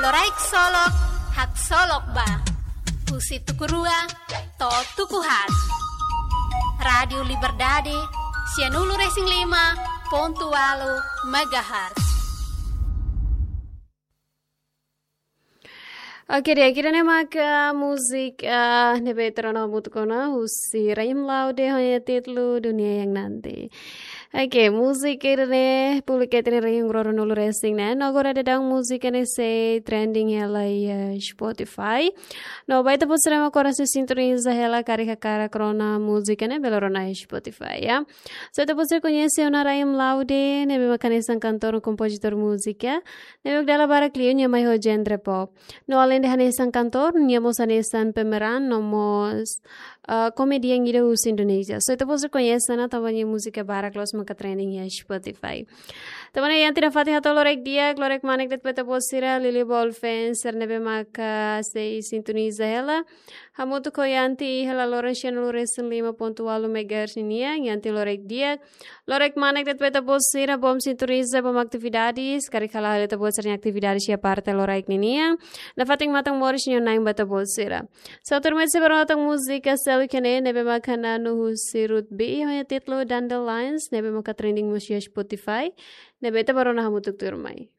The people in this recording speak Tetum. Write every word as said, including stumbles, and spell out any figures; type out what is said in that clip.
Loraik Solok, haksolok ba. Husi tuku rua to'o tuku haat. Rádiu Liberdade, sianulu-resin-lima pontu ualu megahertz. Oke, di'ak, ida-ne'e maka múzika, ah, ne'ebé ita rona hamutuk ona husi Rahim Laude ho nia títulu Dunia Yang Nanti. Oke, múzika ida-ne'e publika iha tinan rihun ruanulu-resin-neen. No agora daudaun múzika ne'e sei trending hela iha Spotify. No ba ita-boot sira mak agora sei sintoniza hela karik hakarak rona múzika ne'e, bele rona iha Spotify, ya. So ita-boot sira koñese ona Rahim Laude, ne'ebé mak hanesan kantór no kompozitór múzika. Ne'ebé mak dala barak liu nia mai ho genre pop. No aleinde hanesan kantór, nia mós hanesan pemeran no mós, ah, komedian ida husi Indonézia. So ita-boot sira koñese ona tanba nia múzika barak loos maka trending iha Spotify. Tanba ne'e iha tinan fatin hato'o loraik di'ak, loraik manek de'it ba ita-boot sira, Lili Ball fans sira ne'ebé maka sei sintoniza hela hamutuk ho Yanti iha laloran sianulu-resin-lima pontu ualu megahertz ninian. Yanti, loraik di'ak, loraik manek de'it ba ita-boot sira, bom sintoniza, bom atividades, karik hala'o hela ita-boot sira-nia atividades iha parte loraik ninian. Nafatin matan moris no na'in ba ita-boot sira. So tuirmai sei bá rona tan múzika seluk ne'e, ne'ebé maka Nanu husi Ruth B ho nia títulu Dandelions, ne'ebé maka trending mós iha Spotify, ne'ebé ita bá rona hamutuk tuirmai.